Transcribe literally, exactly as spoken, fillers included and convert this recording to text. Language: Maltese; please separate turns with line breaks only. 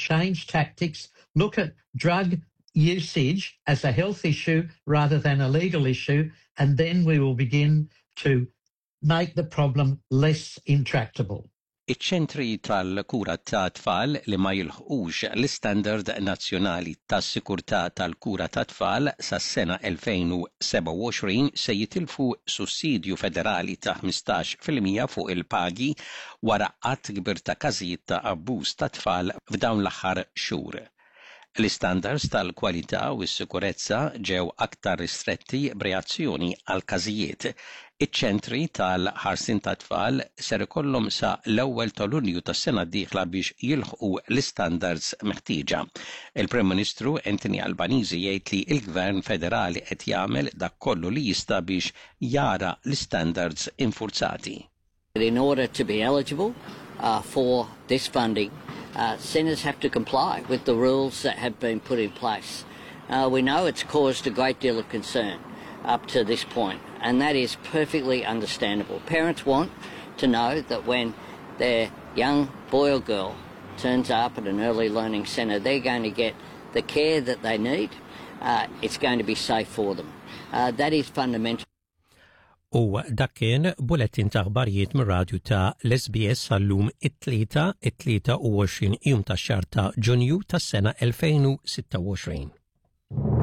change tactics, look at drug usage as a health issue rather than a legal issue, and then we will begin to make the problem less intractable.
Iċ-ċentri tal-kura ta' tfal li ma jilħqux l-istandard nazzjonali tas-sikurtà tal-kura ta' tfal sas-sena elfejn u sebgħa u għoxrin se jitilfu sussidju federali ta' ħmistax fil-mija fuq il-pagi wara għadd kbir ta' każijiet ta' abbuż ta' tfal f'dawn l-aħħar xhur. L-istandards tal-kwalità u s-sikurezza ġew aktar ristretti b'reazzjoni għal każijiet. Iċ-ċentri tal-ħarsien ta' tfal ser ikollhom sa l-ewwel ta' Lulju tas-sena d-dieħla biex jilħqu l-istandards meħtieġa. Il-Prim Ministru Anthony Albanese jgħid li l-Gvern Federali qed jagħmel dak kollu li jista' biex jara l-istandards infurzati.
In order to be eligible uh, for this funding, uh, centres have to comply with the rules that have been put in place. Uh, we know it's caused a great deal of concern up to this point, and that is perfectly understandable. Parents want to know that when their young boy or girl turns up at an early learning centre, they're going to get the care that they need. Uh, it's going to be safe for them. Uh, that is fundamental.
U dak kien bulettin ta' aħbarijiet mir-radju ta' l-S B S għal-lum it-tlieta, it-tlieta u għoxrin jum ta' xahar ta' Ġunju tas-sena elfejn u sitta u għoxrin.